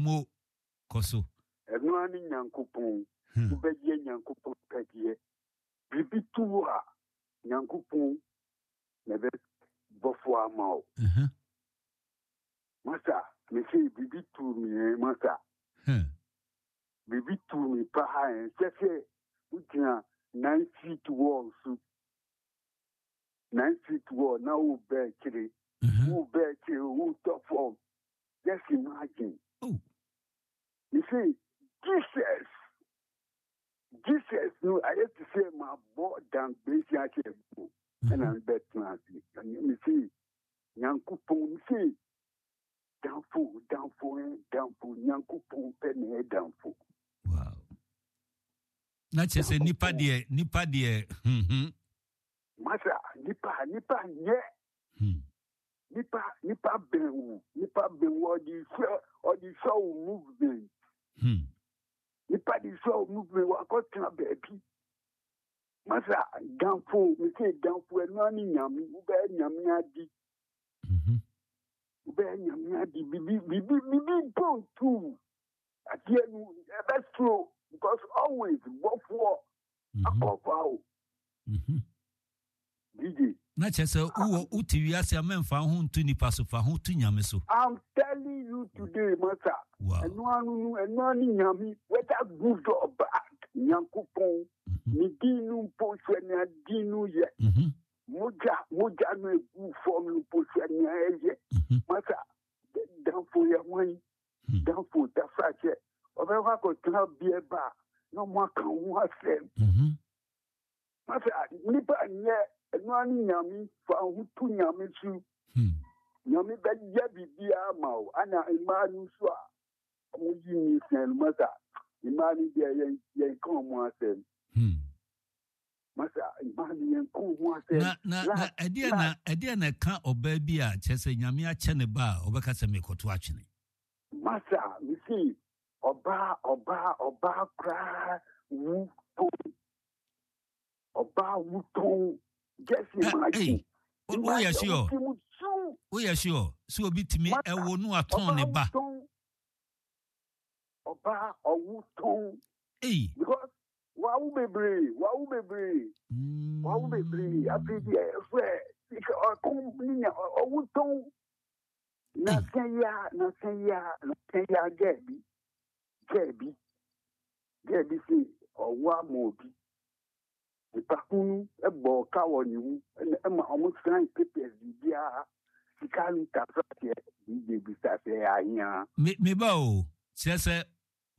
Mo kɔ so. Ɛno ara ne Nyankopɔn. Wobɛyɛ Nyankopɔn pɛdeɛ. Biribi to wo a, Nyankopɔn na ɛbɛbɔfoɔ ama wo. Masa, mese biribi tuu me ɛ, masa. Biribi tuu me paa ɛ, sɛ sɛ wogyina 9 feet wall so. 9 feet wall na wobɛ akyire. Wobɛ akyire, wotɔ fam. Just imagine. Oh. You see, Jesus, Jesus no ayɛ te sɛ mabɔ dangbesi ahyɛ mu ɛna mebɛtena ase. Mese, Nyankopɔn, mese, damfo, damfo, ɛ, damfo, Nyankopɔn pɛ na ɛyɛ damfo. Wow. Na kyerɛ sɛ nipa deɛ, nipa deɛ, Masa, nipa, nipa nyɛ. Nipa, nipa bɛn wo, nipa bɛn wo, ɔde hwɛ, ɔde hwɛ wo movement. Nipa de hwɛ wo movement, wakɔtena baabi. Masa, damfo, mese damfo, ɛno ne Nyame, wobɛyɛ Nyame adi. Wobɛyɛ Nyame adi, bibi, bibi, bibi mpo ntu. Adeɛ no, ɛbɛsoro, because always, bɔfoɔ, akɔfa o. DJ. Na kyerɛ sɛ wowɔ wote wiase a mɛmfa ho nto nipa so, fa ho to Nyame so. I'm telling you today, masa. Wow. Ɛno ano no, ɛno ano Nyame, whether good or bad, Nyankopɔn, ne din no mpo hwɛ nea din no yɛ. Mogya, mogya no egu fam no mpo hwɛ nea ɛyɛ. Masa, damfo yɛ hwan? Damfo dafa kyɛ, ɔbɛkɔ akɔtena bea ba na ɔmo aka ho asɛm. Masa, nipa nyɛ, ɛno ano Nyame, fa ho to Nyame so. Nyame bɛyɛ biribiara ma wo. Ana mmaa no nso a ɔmo yi nyinsɛn no, masa, mmaa no deɛ yɛn yɛnka ɔmo asɛm. Masa, mmaa no yɛnka ɔmo asɛm. Na na na ɛdeɛ na ɛdeɛ na ɛka ɔbaa bi a kyerɛ sɛ Nyame akyɛ ne ba a ɔbɛka sɛ mekɔto atwene. Masa, mesi ɔbaa ɔbaa ɔbaa koraa wu tɔn. Ɔbaa wu tɔn. Just imagine. Woyɛ sure? Woyɛ sure sɛ obi tumi ɛwo no atɔn ne ba? Ɔbaa ɔwo tɔn. Ei. Because wawo bebree, wawo bebree, wawo bebree. Afei deɛ ɛfɛ sika ɔkɔm ne nya ɔwo tɔn. Na sɛ ya, na sɛ ya, na sɛ ya gɛɛ bi, gɛɛ bi, gɛɛ bi se ɔwo ama obi. Nipa kunu bɔ ka wɔ ne mu ɛna ɛma ɔmo sign papers biribiara sika no tafra teɛ DJ bisa sɛ ɛyɛ ahia. Me me ba o, kyerɛ sɛ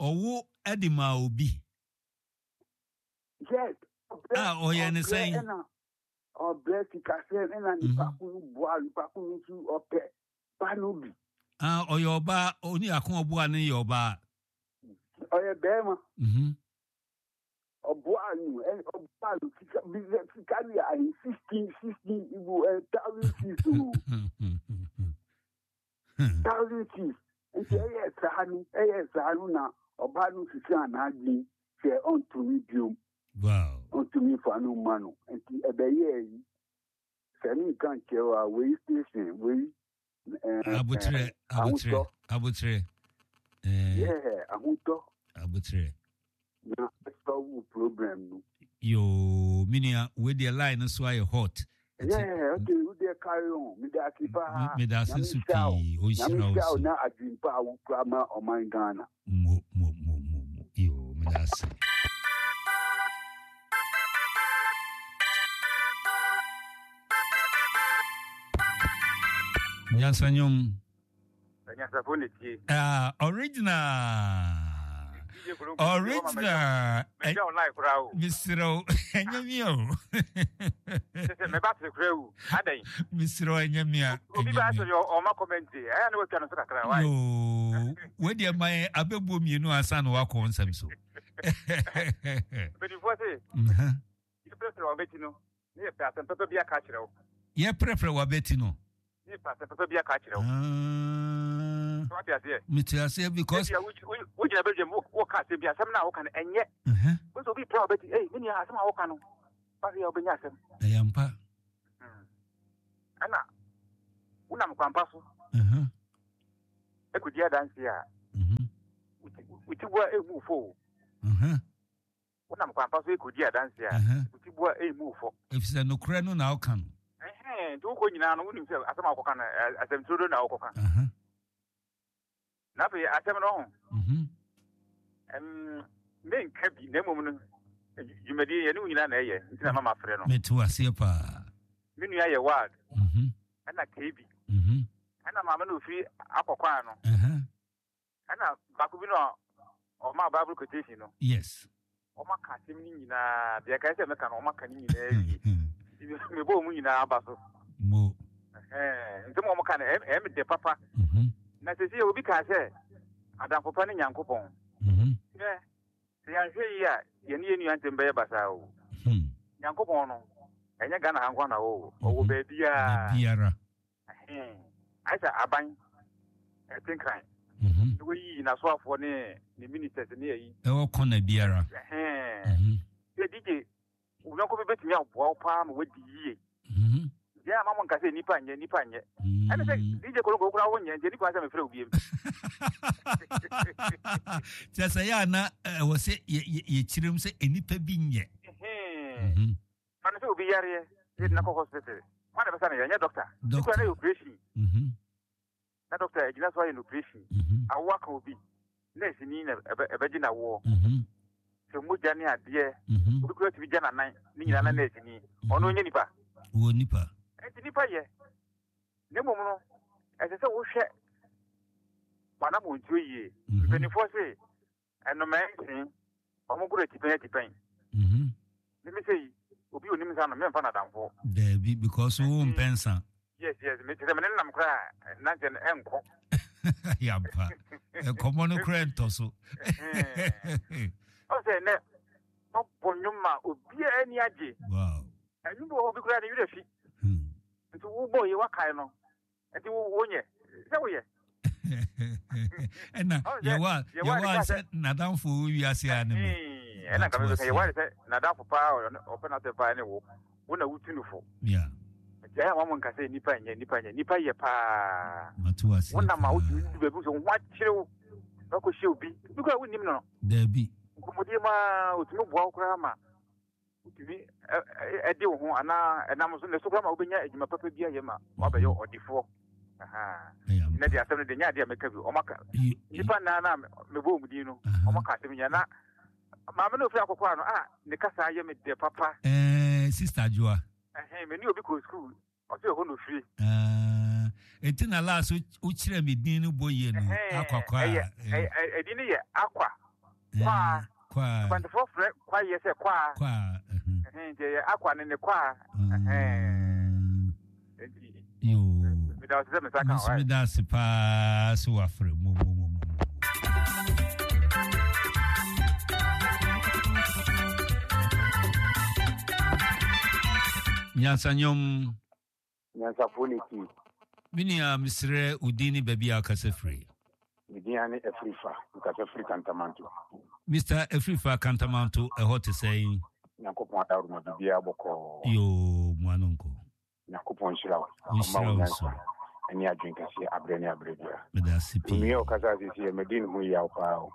ɔwo de maa obi. Yes. A ɔyɛ ne sɛn? Ɛna ɔbrɛ sikasɛm ɛna nipa kunu boa nipa kunu nso ɔpɛ ba no bi. Ah, ɔyɛ ɔbaa, oni ako ɔboa no yɛ ɔbaa. Ɔyɛ bɛrima. Ɔboa no, ɔboa no sika bi sika no yɛ ahe 16 16 ibu 1,006 o. 1,006. Nti ɛyɛ saa no, ɛyɛ saa no na ɔbaa no sisi anadwen sɛ ɔntumi biom. Wow. Ɔntumi fa no mma no. Nti ɛbɛyɛ yi. Sɛ ne nka nkyerɛ wa wei station wei. Abotrɛ, abotrɛ, abotrɛ. Yeah, ahotɔ. Abotrɛ. Na solve problem no. Yoo, me nua, wei deɛ line no so ayɛ hot. Yeah, okay, wo deɛ carry on. Me da ase paa. Me da ase nso pii. Ɔnhyira wo so. Na adwempa a wokura ma ɔman Ghana. Mo, mo, mo, mo, mo. Yoo, me da ase. Nyansa nnwom. Anyansafo na tie. Ah, original. Original. Mɛgya online koraa o. Mesrɛ wo, ɛnyɛ mi o. Sɛ mɛba ase koraa o. Adɛn? Mesrɛ wo, ɛnyɛ mi a. Obi ba sɛ ɔma kɔmɛnti, ɛyɛ na watwa no so kakra. Why? Yoo, wei deɛ ma yɛn abɛbuo mmienu ansa na wakɔ nsɛm so. Mpanimfoɔ se, yɛprɛprɛ w'abati no, ne yɛpɛ asɛm papa bi aka akyerɛ wo. Yɛprɛprɛ w'abati no. Ne yɛpɛ asɛm papa bi aka akyerɛ wo. Ah. So wate aseɛ? Mete aseɛ because. Ebia wogyina badwam woka asɛm bi, asɛm no a woka no ɛnyɛ. Wo sɛ obi prɛ w'abati, ei me nua asɛm a woka no, wahwɛ yɛ wobɛnya asɛm. Ɛyɛ ampa. Ɛna wonam kwampa so. Ɛkɔdi adanseɛ a. Wo ti boa emu wo fɔ o. Wonam kwan pa so rekɔdi adanse a, wo ti boa emu wo fɔ. Efisɛ nokorɛ no na woka no. Nti wokɔ nyinaa no, wonim sɛ asɛm a wokɔka no, asɛm turodo na wokɔka. Na afei asɛm no ho. Menka bi, na mmom no, dwumadie yɛne wo nyinaa na ɛyɛ, nti na mama frɛ no. Mete waseɛ paa. Me nua yɛ wild, ɛna KB, ɛna maame no ofiri akɔkɔa no. Ɛna baako bi no a ɔmaa Bible quotation no. Yes. Wɔn aka asɛm no nyinaa, deɛ ɛkae sɛ mɛka no, wɔn aka ne nyinaa wie. Mebɔ wɔn nyinaa aba so. Mo. Nsɛm a wɔn ka no, ɛyɛ me dɛ papa. Na sɛsi obi kaa sɛ, adamfo pa ne Nyankopɔn. Hwɛ, sɛ yɛanhwɛ yie a, yɛne yɛn nua ntɛm bɛyɛ basaa o. Nyankopɔn no, ɛnyɛ Ghana ha nko na ɔwɔ, ɔwɔ baabiara. Baabiara. Ɛhee, ayɛ sɛ aban ɛte nkran. Na wayiyi n'asoafoɔ ne ne ministers ne ayi. Ɛwɔ kɔna biara. Ɛhee. Sɛ DJ, wo yɔnko bi bɛtumi aboa wo paa ma wadi yie. Deɛ ama mo nka sɛ nipa nyɛ, nipa nyɛ. Ɛne sɛ DJ Koloko koraa wo nyɛ, nti ɛni kwan sɛ mefrɛ wo biem. Kyerɛ sɛ yɛ a na ɛwɔ sɛ yɛkyerɛm sɛ nnipa bi nyɛ. Ɛhee. Fa no sɛ obi yareɛ na yɛde no akɔ hospital. Hwan na ɛbɛsa no yareɛ? Ɛnyɛ dɔkta. Bi koraa na ɛyɛ operation. Na dɔkta agyina so ayɛ no operation. Awoɔ aka obi. Nɛɛseni na ɛbɛgye no awoɔ. Sɛ mogya ne adeɛ. Obi koraa tumi gya n'anan ne nyinaa na nɛɛseni. Ɔno ɔnyɛ nipa. Ɔwɔ nipa. Ɛnti nipa yɛ. Na mmom no, ɛsɛ sɛ wohwɛ w'anammɔntuo yie. Mpanimfoɔ se Nnomaa nsin, wɔn goro atipɛn atipɛn. Me me sei, obi onim nsa no, memfa no adamfo. Daabi, because wo mpɛ nsa. Yes, yes, me kyerɛ me ne nam koraa, nanteɛ no ɛnkɔ. Yampa, nkɔmmɔ no koraa ntɔ so. Ɔsɛ nɛ, ɔbɔ nnwom ma obiara ani agye. Wow. Ɛnwom bi wɔ hɔ obi koraa ne werɛ fi. Nti wobɔ yi wakae no, Nti wo wonyɛ sɛ woyɛ. Ɛna yɛwa yɛwa sɛ n'adamfo wɔ wiase a ne me. Ɛna nka mebɛka yɛwa sɛ n'adamfo paa ɔpɛ n'asɛm paa ne wo wo na wotu no fo. Yeah. Nti ayɛ wɔn nka sɛ nipa nyɛ nipa nyɛ nipa yɛ paa. Mate wase. Wo nam a wotumi du baabi sɛ wo ho akyere wo na wakɔhyia obi bi koraa wonnim no. Daabi. Nkɔmmɔdie mu a otumi boa wo koraa ma wotumi de wo ho anaa ɛnam so ne so koraa ma wobɛnya adwuma papa bi ayɛ ma woabɛyɛ ɔdefoɔ. Nnɛ deɛ asɛm no deɛ nyɛ adeɛ a mɛka bi. Ɔmaka nnipa nnaa na mebɔ wɔn din no, ɔmaka asɛm nyinaa na maame no ofiri akɔkɔ ano a ne kasa yɛ me dɛ papa. Ɛɛ Sister Adwoa. Ɛhɛn, me ne obi kɔɔ sukuu Ɔsɛ ɛhɔ na ofiri. Ah, enti na last wokyerɛ me din no bɔ yie no, Akwa Kwaa. Ɛyɛ, ɛdin no yɛ Akwa. Kwaa. Kwaa. Akwantefoɔ frɛ kwayɛ sɛ kwaa. Kwaa. Nti ɛyɛ Akwa ne ne kwaa. Nti. Yoo. Meda ase sɛ me nsa ka wa. Meda ase paa sɛ wafrɛ mo mo mo mo. Nyansanyɔm. Nyansafoɔ ne ti. Me nua mesrɛ wo din ne baabi a wokasa firi. Me din ane Afrifa, mekasa firi Kantamanto. Mister Afrifa, Kantamanto ɛhɔ te sɛn? Nyankopɔn adaworoma biribiara bɔkɔɔ. Yoo, mo ano nkɔ. Nyankopɔn nhyira wo. Ɔnhyira wo nso. Ɛne adwene kɛseɛ aberɛ ne aberɛ biara. Meda ase pii. Onua a ɔkasa sisi yɛ madi ne ho yaw paa o.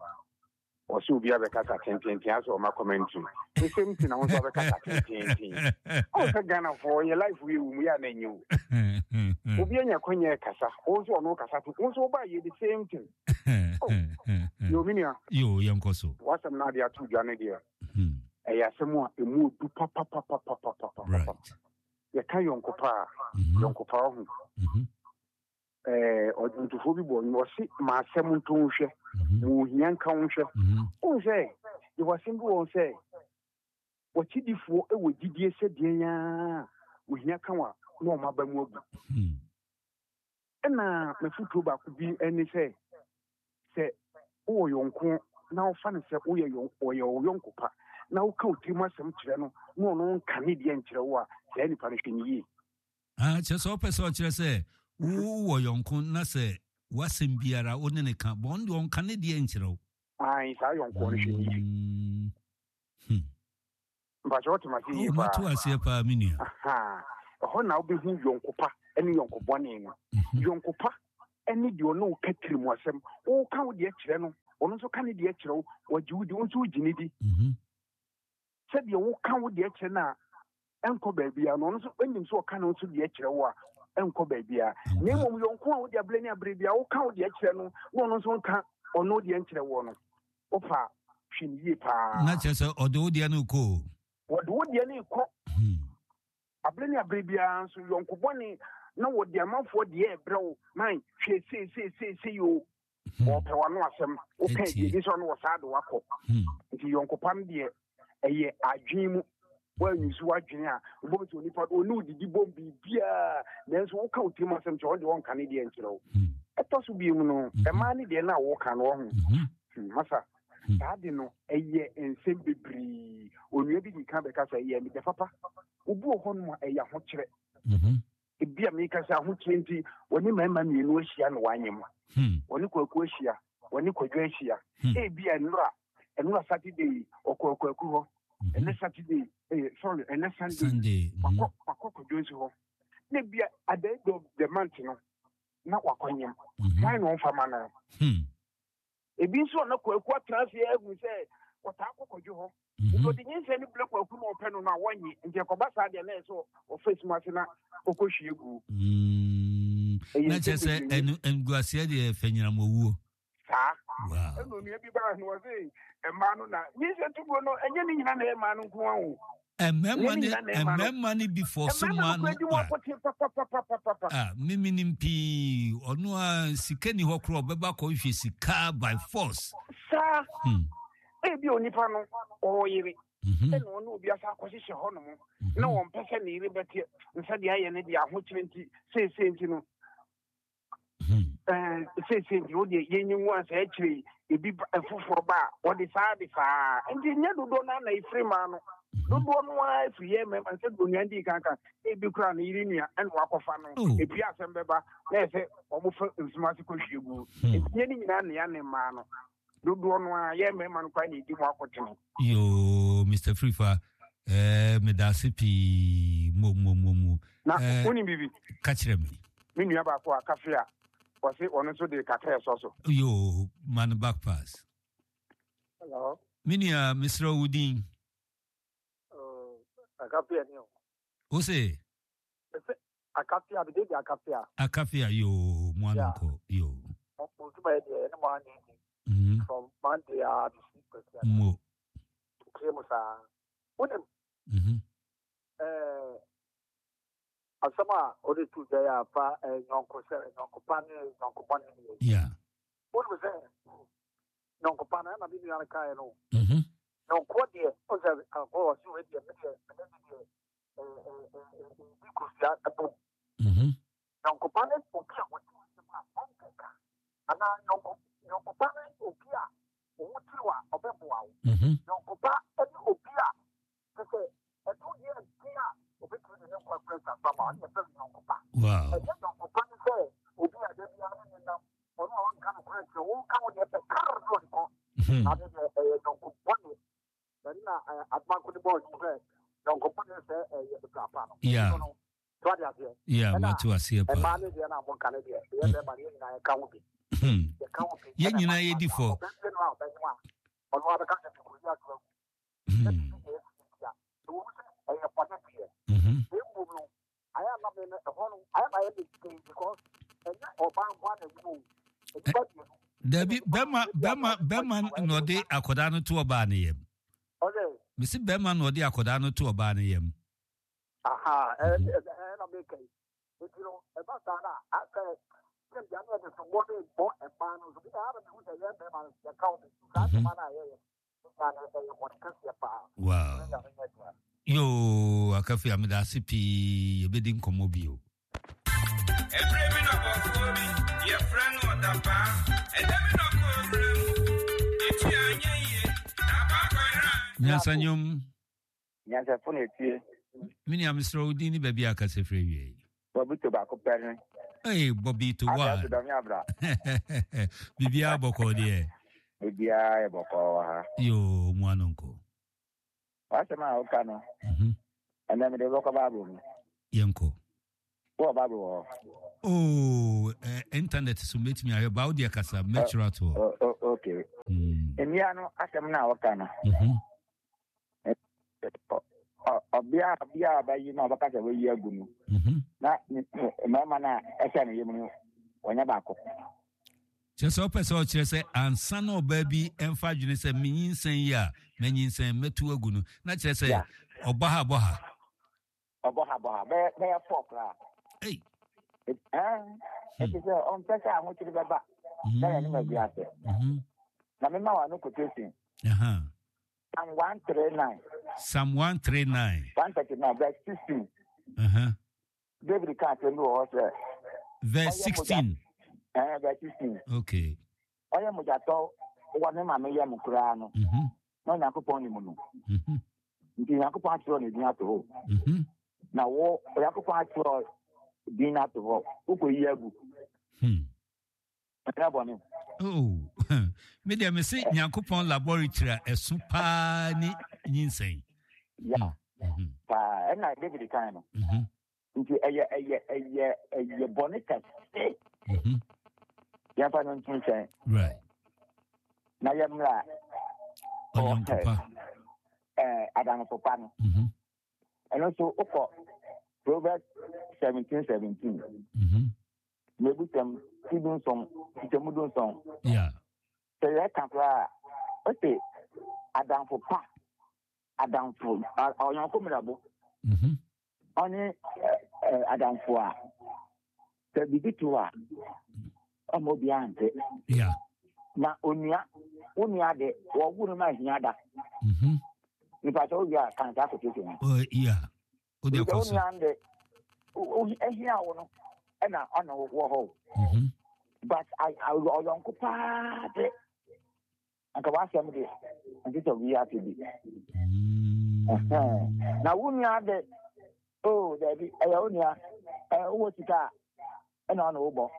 Ɔsɛ obi abɛkasa tententen asɛ ɔma commentary. The same thing na wo nso abɛkasa tententen. Ɔn sɛ Ghanafoɔ yɛ life yɛ wɔ mu yɛ a na ɛnyɛ o. Obi anya kwanya ɛkasa, wo nso ɔno kasa to, wo nso woba yɛ the same thing. Oh, yo me nua. Yo, yɛnkɔ so. W'asɛm no ade ato dwa no deɛ. Ɛyɛ asɛm a ɛmu odu papapapapapapa. Right. Yɛka yɔnkopa a, yɔnkopa ɔho. Ɛɛ ɔdwontofoɔ bi bɔ nnwom ɔse ma asɛm nto wo hwɛ, ma ohia nka wo hwɛ. Wohu sɛ yɛwɔ asɛm bi wɔ hɔ sɛ w'akyidifoɔ wɔ gyidie sɛ deɛn ara ohia ka wo a na wɔn aba mu abu. Ɛna m'afotuo baako bi ne sɛ, sɛ wowɔ yɔnko na wofa no sɛ woyɛ ɔyɛ wo yɔnko pa na woka wo tirim asɛm kyerɛ no na ɔno nka ne deɛ nkyerɛ wo a, saa nipa no hwɛ no yie. Ah, kyerɛ sɛ wopɛ sɛ ɔkyerɛ sɛ wowɔ yɔnko na sɛ w'asɛm biara wo ne ne ka, bɔn ɔno deɛ ɔnka ne deɛ nkyerɛ wo. Ae, saa yɔnkoɔ no hwɛ no yie. Mpakyɛ wote m'ase yie paa? Mate aseɛ paa me nua. Ɛhɔ na wobɛhu yɔnko pa ne yɔnko bɔne no. Yɔnko pa ne deɛ ɔne wo ka tirim asɛm. Woka wo deɛ kyerɛ no, ɔno nso ka ne deɛ kyerɛ wo, ɔgye wo di, wo nso wogye ne di. Sɛdeɛ woka wo deɛ kyerɛ no a ɛnkɔ baabiara no, ɔno nso nim sɛ ɔka ne nso deɛ kyerɛ wo a ɛnkɔ baabiara. Na mmom yɔnko a wode aberɛ ne aberɛ biara woka wo deɛ kyerɛ no na ɔno nso nka ɔno deɛ nkyerɛ woɔ no, wofa a, hwɛ no yie paa. Na kyerɛ sɛ ɔde wo deɛ no rekɔ o. Wɔde wo deɛ no rekɔ. Aberɛ ne aberɛ biara nso yɔnko bɔne na wɔde amanfoɔ deɛ rebrɛ wo, man hwɛ sei sei sei sei o. Wɔpɛ w'ano asɛm, woka deɛ bi sɛ ɔno wɔ saa de wakɔ. Nti yɔnko pa no deɛ ɛyɛ adwene mu. Woanyusu w'adwene a, wobɛhu sɛ onipa no ɔne wo didi bom biribiara, nanso woka wo tirim asɛm kyerɛ ɔno deɛ ɔnka ne deɛ nkyerɛ wo. Ɛtɔ so biom no, mmaa ne deɛ no a woka no ɔho. Masa, saa de no ɛyɛ nsɛm bebree. Onua bi di kan bɛka sɛ ɛyɛ meda papa. Obi wɔ hɔnom a ɛyɛ ahokyerɛ. Ebia meka sɛ ahokyerɛ nti wɔne mmarima mmienu ahyia na wɔanyem. Wɔne Kwaku ahyia, wɔne Kwadwo ahyia. Ebia nnora, nnora Saturday ɔkɔɔ Kwaku hɔ. Ɛnɛ Saturday, eh, sorry, ɛnɛ Sunday, Sunday. Wakɔ, wakɔ Kwadwo nso hɔ. Na ebia at the end of the month no, na wakɔnyem. Hwan na ɔmfa ma no? Ebi nso a na Kwaku atena ase ahu sɛ ɔtaa kɔ Kwadwo hɔ. Nti ɔde nyinsɛn no brɛ Kwaku na ɔpɛ no no a wɔnnye. Nti ɛkɔba saa deɛ na ɛyɛ sɛ ɔfa esum ase na ɔkɔhwie gu. Ɛyɛ Na kyerɛ sɛ ɛnu nguaseɛ deɛ fɛ nyinam owuo. Saa. Wow. Ɛna onua bi baa no ɔse mmaa no na nyinsɛn tuguo no ɛnyɛ ne nyina na ɛyɛ mmaa no nko ara o. Mmarima ne mmarima ne bi fɔ so ma no a mimi nim pii ɔno a sika ni hɔ korɔ ɔbɛba kɔhwehwɛ sika by force. Saa ebi onipa no ɔwɔ yere ɛna ɔne obi asa akɔhyehyɛ hɔ nom na wɔn pɛ sɛ ne yere bɛte nsa deɛ ayɛ ne deɛ ahokyere nti seesei nti no Seesei nti wo deɛ yɛnyi ngu ansa akyire yi ebi foforɔ ba a wɔde saa de saa nti nyɛ dodoɔ no na ɛfiri maa no dodoɔ no ara firi yɛ mmarima sɛ deɛ onua dii kan ka ebi koraa ne yere nua ɛna wakɔfa no ebi asɛm bɛba na ɛsɛ wɔfa nsuma ase kɔhwie gu nti nyɛ ne nyinaa nea ne mmaa no Dodoɔ no ara, yɛn mmarima no koraa na ɛdi mu akotene. Yoo, Mister Frifa, eh, meda ase pii, mo, mo, mo, mo. Na, eh, wonim biribi? Ka kyerɛ me. Me nua baako a kafe a, ɔse ɔno nso de kakra ɛsɔ so. Yoo, ma no back pass. Hello. Me nua, mesrɛ wo din. Oh, akafia ni o. Wo se? Akafia, me de Akafia. Akafia, yoo, mo ano nkɔ, yoo. Mo ntoma yɛ deɛ, ɛne mo anyɛ ni. From Monday a bisi kwasi. Mo. Tie mo saa. Wonim? Eh, asɛm a ɔde tu dwa yɛ afa nyɔnko sɛ nyɔnko pa ne nyɔnko bɔne ne yɛ. Yeah. Wonim sɛ nyɔnko pa no ɛna me nua no kaeɛ no. Nyɔnko deɛ, ɔsɛ akɔ ɔse wei deɛ, me deɛ, me ne deɛ di kosua bom. Nyɔnkoba ne obi a wɔte asɛm a ɔnkeka anaa nyɔnko nyɔnkoba ne obi a ɔho tiriw a ɔbɛboa wo. Nyɔnkoba ne obi a kyɛ sɛ ɛto yɛ den a obetumi de ne nkwa kura sa so ama ɔne yɛfrɛ no nyɔnkoba. Ɛnyɛ nyɔnkoba ne sɛ obi a da biara ne ne nam ɔno a ɔnka nokorɛ nkyerɛ wo woka wo deɛ pɛ karr na ɔde kɔ. Ade deɛ ɛyɛ nyɔnko bɔne. Ɛno na adomanko de bɔɔ dwom sɛ yɔnko bɔne sɛ ɛyɛ bra pa no. Yeah. No, so ade aseɛ. Yeah, mate aseɛ paa. Ɛmaa ne deɛ na mo nka ne deɛ. Yɛ bɛrima ne yɛ nyinaa yɛka ho bi. Yɛka ho bi. Yɛn nyinaa yɛ di fɔ. Ɔbɛnbɛ no a ɔbɛnyo a ɔno abɛka sɛ mekɔ yi ato agu. Sɛ bibi na ɛsi nti a ɛwɔ mu sɛ ɛyɛ bɔne deɛ. Na mmom no ayɛ ama me no ɛhɔ no ayɛ ma ayɛ me den because ɛnyɛ ɔbaa nko ara na ɛnyim o. Nnipa mmienu. Dabi bɛma bɛma bɛma na ɔde akwadaa no to ɔbaa no yam. Mesi bɛma na ɔde akwadaa no to ɔbaa no yam. Aha, ɛna meka yi. Nti no, ɛba saa na asɛ sɛ bia ne yɛde sombɔ ne bɔ mmaa no so bi na ara mehu sɛ yɛn mmarima no yɛka wo bi saa ntoma no a yɛyɛ Wow. Yoo, Akafi ameda ase pii, yɛbɛdi nkɔmmɔ bio. Ɛberɛ bi na bɔfoɔ bi yɛfrɛ no ɔdapaa ɛda bi na ɔkɔɔ wura mu ne ti anyɛ yie na akɔ akɔyera. Nyansa nnwom. Nyansafo na etie. Me nua mesrɛ wo din ne baabi a kasa firi awie yi. Bobito baako pɛ ne. Hey, Bobito wa. Asa dɔm abra. Biribiara bɔkɔɔ deɛ. Biribiara yɛ bɔkɔɔ wɔ ha. Yoo, mu ano nko. W'asɛm a woka no. Ɛnɛ mede wobɛkɔ Bible mu. Yɛnkɔ. Wowɔ Bible wɔ hɔ? Oh, eh, internet so mɛtumi ahwɛ ba wo deɛ kasa mɛtwerɛ ato hɔ. Oh, oh, okay. Mmea no asɛm no a wɔka no. Ɔbea ɔbea a ɔbɛyi na ɔbɛka sɛ wayi agu no. Na mmarima no a ɛhyɛ ne yam no wɔnyɛ baako. Kyerɛ sɛ ɔpɛ sɛ ɔkyerɛ sɛ ansa na ɔbaa bi mfa adwene sɛ menyinsɛn yi a manyinsɛn mɛtu agu no na kyerɛ sɛ ɔbɔ ha bɔ ha. Ɔbɔ ha bɔ ha bɛyɛ bɛyɛ fɔ koraa. Ei. Ɛɛ ɛti sɛ ɔmpɛ sɛ ahokyere bɛba na yɛne ma bi ase. Na mema wa no quotation. Psalm 139. Psalm 139. 139 verse 16. David ka asɛm bi wɔ hɔ sɛ. Verse 16. Ɛɛ verse 16. Okay. Ɔyɛ mogyatɔ wɔ ne maame yam koraa no. Na Onyankopɔn nim no. Nti Onyankopɔn atwerɛ ne din ato hɔ. Na wo Onyankopɔn atwerɛ din no ato hɔ. Wokɔyi agu. Ɛnyɛ bɔne. Oh, me deɛ me se Nyankopɔn laboratory a ɛso paa ne nyinsɛn. Ya, paa ɛna David kan no. Nti ɛyɛ ɛyɛ ɛyɛ ɛyɛ bɔne kɛse. Yɛmfa no nto nkyɛn. Right. Na yɛmmra. Ɔyɔnkopa. Ɛɛ adamfo pa no. Ɛno nso wokɔ Proverbs 17 17. Mmebusɛm ti dunson, nkyekyɛmu dunson. Sɛ yɛka koraa a, ose adamfo pa, adamfo, ɔyɔnko mmerɛbo, ɔne adamfo a sɛ biribi to a, ɔma obiara nte. Na onua, wo nua de, wɔwo no ma ahia da. Nipa sɛ wowie a, kan saa quotation no. Wode Sɛ kɔ wo so. nua de ahia wo no ɛna ɔne wo wɔ hɔ o. But ɔyɔnko paa de anka w'asɛm de nte sɛ obi ate bi. Ɛhɛn. Na wo nua de o daabi ɛyɛ wo nua wowɔ sika a ɛna ɔne wo bɔ.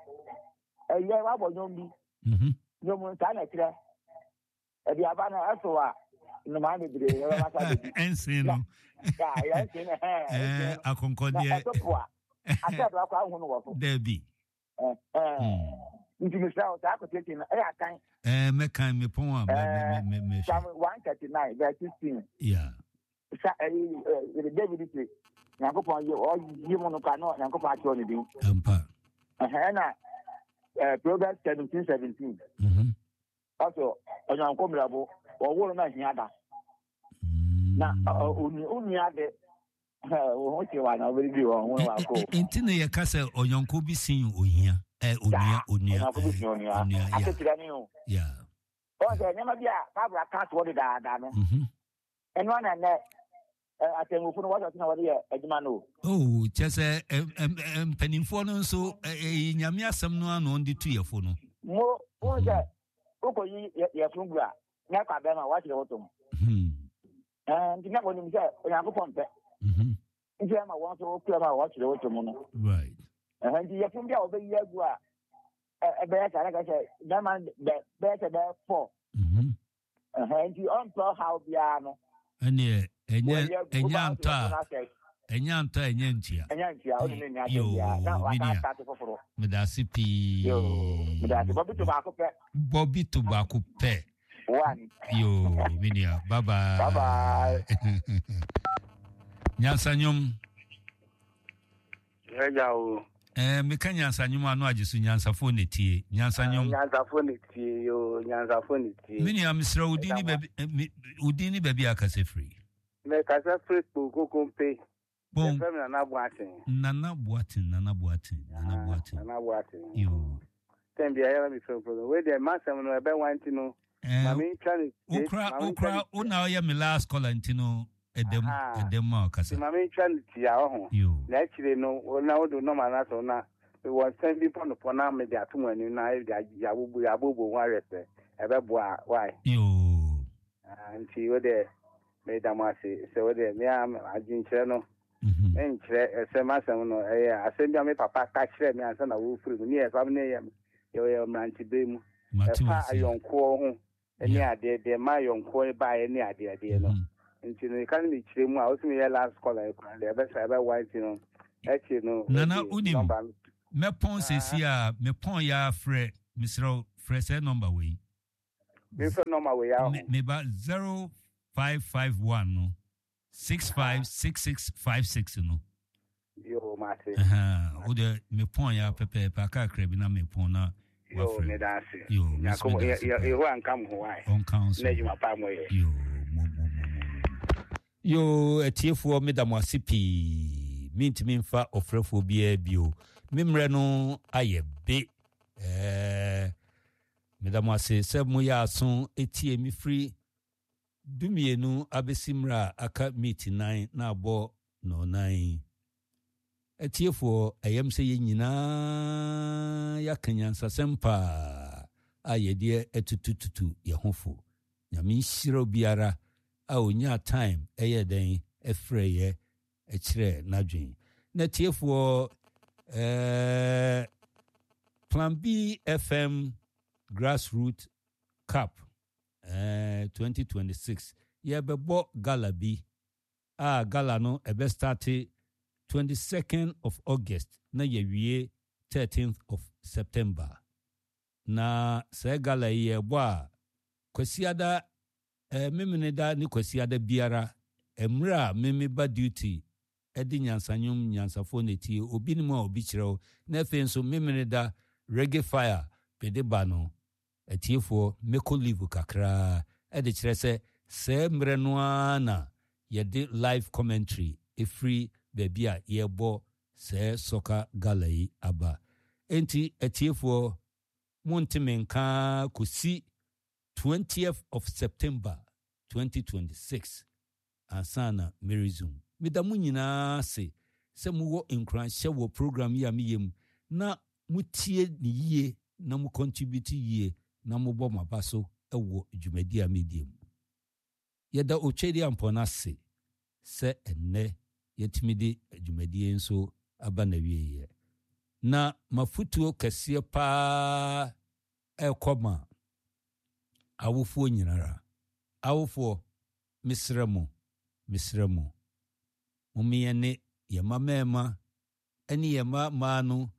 Ɛyɛ wabɔ nnwom bi. Nnwom no saa na ɛkyerɛ. Aduaba no ɛso a nnomaa bebree na ɛbɛba sa bedi. Ɛnsen no. Ya ɛnsen no hɛn. Ɛɛ akɔnkɔdeɛ. Na ɛso po a asɛ do akɔ ahu no wɔ so. Dɛbi. Nti mesrɛ wo saa quotation no ɛyɛ akan. Ɛɛ mɛkan mepɔn a mɛ mɛ mɛ mɛ. Psalm 139 verse 16. Yeah. Sa ɛyi ɛɛ David se Nyankopɔn yi ɔyi mu no ka no Nyankopɔn akyerɛ ne din. Ampa. Ɛhɛn na ɛɛ Proverbs 17 17. Ɔsɛ ɔnyanko mmerɛbo, wɔwoo no na hia da. Na onua de, wo ho kyew a na wobɛdidi wɔn ho wakɔ. Nti na yɛka sɛ ɔyɔnko bi sin ohia. Onua, onua. Ɔyɔnko bi sin onua. Asekyerɛ ne o. Wɔn sɛ nneɛma bi a Bible aka toɔ dedaada no. Ɛno ana nnɛ atemmufo no wɔsɔ so na wɔde yɛ adwuma no o. Oh, kyɛ sɛ mpanimfoɔ no nso ɛyɛ nyame asɛm no ano ɔde tu yɛfo no. Mo wohu sɛ wokɔyi yɛfo gu a na ɛkɔ abɛn ma wɔakyerɛ wo tom. Nti na wɔnim sɛ Onyankopɔn mpɛ. Nti ɛma wɔn nso wokura ma wɔakyerɛ wo tom no. Right. Nti yɛfo bi a wɔbɛyi agu a ɛbɛyɛ saa na ka sɛ bɛrima bɛyɛ sɛ bɛyɛ fɔ. Nti ɔmpɛ ɔhaw biara no. Ɛneɛ ɛnyɛ ɛnyɛ antɔ a ɛnyɛ antɔ a ɛnyɛ ntua. Ɛnyɛ ntua ɔne ne nua asɛm biara na waka asate foforɔ. Medase pii. Yoo medase bɔbi to baako pɛ. Bɔbi to baako pɛ. One. Yoo me nua bye bye. Bye bye. Nyansa nwom. Yɛagya o. Eh, meka nyansa nwom ano agye so nyansafoɔ na tie. Nyansa nwom. Ah, nyansafoɔ na tie yo, nyansafoɔ na tie. Me nua mesrɛ wo din ne baabi eh, wo din ne baabi a kasa firi. Me kasa firi Kpokokompe. Bon. Yɛfrɛ me Nana Boateng. Nana Boateng, Nana Boateng, Nana ah, Boateng. Nana Boateng. Yo. Tɛn bia yɛrɛ mi fɛn fɛn. Wei deɛ masɛm no ɛbɛ wa nti no. Eh, Mame ntwa ne. Okura okura wo na ɔyɛ me last caller nti no. Ɛdɛm, ɛdɛm ma ɔkasa. Nti ma mentwa no tia, ɔho. Na akyire no, wo na wode wo nɔma no ato na mewɔ nsɛm bi pɔnopɔ na mede ato mo anim na yɛabobo yɛabobo ho ahwɛ sɛ ɛbɛboa a, why? Yoo. Ah, nti wo deɛ meda mo ase sɛ wo deɛ me a adwenkyerɛ no menkyerɛ sɛ m'asɛm no ɛyɛ asɛm bi a me papa ka kyerɛ me ansa na wɔrefiri mu ne yɛ fa ne yɛ yɛwɔ mmerantebere mu ɛfa ayɔnkoɔ ho ne adeɛ deɛ ma yɔnkoɔ baeɛ ne adeɛ adeɛ no nti no yɛka no mekyerɛ mu a wosɛ meyɛ last caller yi koraa deɛ ɛbɛsa ɛbɛwa nti no. Akyire no Nana wode wonim nɔmba no. Mɛpɔn seesei a mepɔn yɛ ara frɛ mesrɛ wo frɛ sɛɛ nɔmba wei. Memfrɛ nɔmba wei ara ho. Me ba 0551 no 656656 no. Yoo mate. Wo deɛ mepɔn yɛ ara pɛpɛɛpɛ aka kakra bi na mepɔn na Yoo wafrɛ. meda ase. Yoo me nso Nyankopɔn meda ase paa. Yehowa nka mo ho wae. Ɔnka wo nso Na ho. adwuma pa mo yɛ. Yoo mo mo mo mo mo. Yoo atiefoɔ meda mo ase pii mentumi mfa ɔfrɛfoɔ biara bio me mmerɛ no ayɛ be ɛɛ meda mo ase sɛ moyɛ aso tie me firi dumienu abɛsi mmerɛ a aka meet nan na abɔ nɔnan yi atiefoɔ ɛyɛm sɛ yɛn nyinaa yɛaka nyansasɛm paa a yɛdeɛ atutututu yɛn ho fo. Nyame nhyira obiara a onyaa time ɛyɛɛ dɛn ɛfrɛeɛ ɛkyerɛɛ n'adwen. Na atiefoɔ eh, Plan B FM Grassroot Cup eh, 2026 yɛbɛbɔ gala bi a gala no ɛbɛ starte 22nd of August na yɛwie 13th of September. Na saa gala yi yɛrebɔ a, Kwasiada, eh, Memeneda ne Kwasiada biara, mmerɛ a me meba duty de nyansa nnwom nyansafoɔ na ɛtie, obi nim a obi kyerɛ wo, na afei nso Memeneda Reggae Fire mede ba no, atiefoɔ mɛkɔ leave kakra de kyerɛ sɛ saa mmerɛ no ara na yɛde live commentary firi baabi a yɛrebɔ Sɛɛ soccer gala yi aba. Enti atiefoɔ monte me nka ara kɔsi twentieth of September 2026 ansa na me resume. Meda mo nyinaa ase sɛ mowɔ nkuranhyɛ wɔ program yi a meyɛ mu na motie no yie na mo contribute yie na mobɔ m'aba so wɔ dwumadie a medie mu. Yɛda Otwedeampɔn ase sɛ ɛnnɛ yɛatumi de dwumadie yi nso aba n'awieeɛ. Na m'afotuo kɛseɛ pa ara rekɔ ma awofoɔ nyinara. Awofoɔ, mesrɛ mo, mesrɛ mo, mom yɛne yɛn mma mmarima ne yɛn mma mmaa no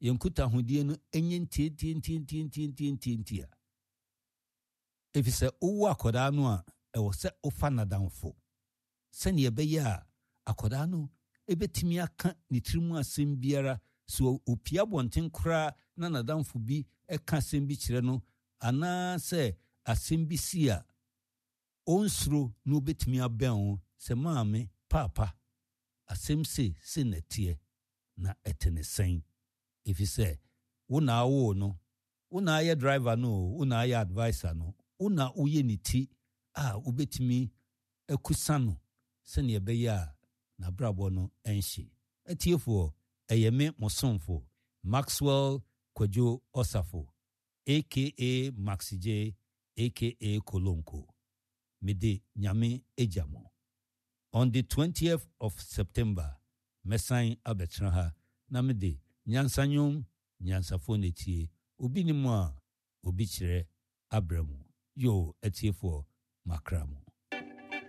yɛn nkutahodie no nyɛ ntiantiantiantiantiantia. Efisɛ wowo akwadaa no a, ɛwɔ sɛ wofa no adamfo sɛnea ɛbɛyɛ a akwadaa no bɛtumi aka ne tirim asɛm biara. Sɛ ɔpue abɔnten koraa na n'adamfo bi ka asɛm bi kyerɛ no anaasɛ asɛm bi si a, ɔnsuro na ɔbɛtumi abɛn wo sɛ, Maame, Paapa, asɛm sei, sei na ɛteɛ, na ɛte ne sɛn? Efisɛ wo na wowoo no, Wo na ayɛ driver no oo, wo na ayɛ adviser no, wo na woyɛ ne ti a wobɛtumi akusa no sɛdeɛ ɛbɛyɛ a n'abrabɔ no nhye. Atiefoɔ, ɛyɛ me mo somfo Maxwell Kwadwo Osafo aka Maxy J aka Kolonko. Mede Nyame agya mo. On the twentieth of September mɛsan abɛtena ha na mede nyansa nnwom Nyansafoɔ na ɛtie, obi nim a obi kyerɛ abrɛ mo. Yoo atiefoɔ makra mo.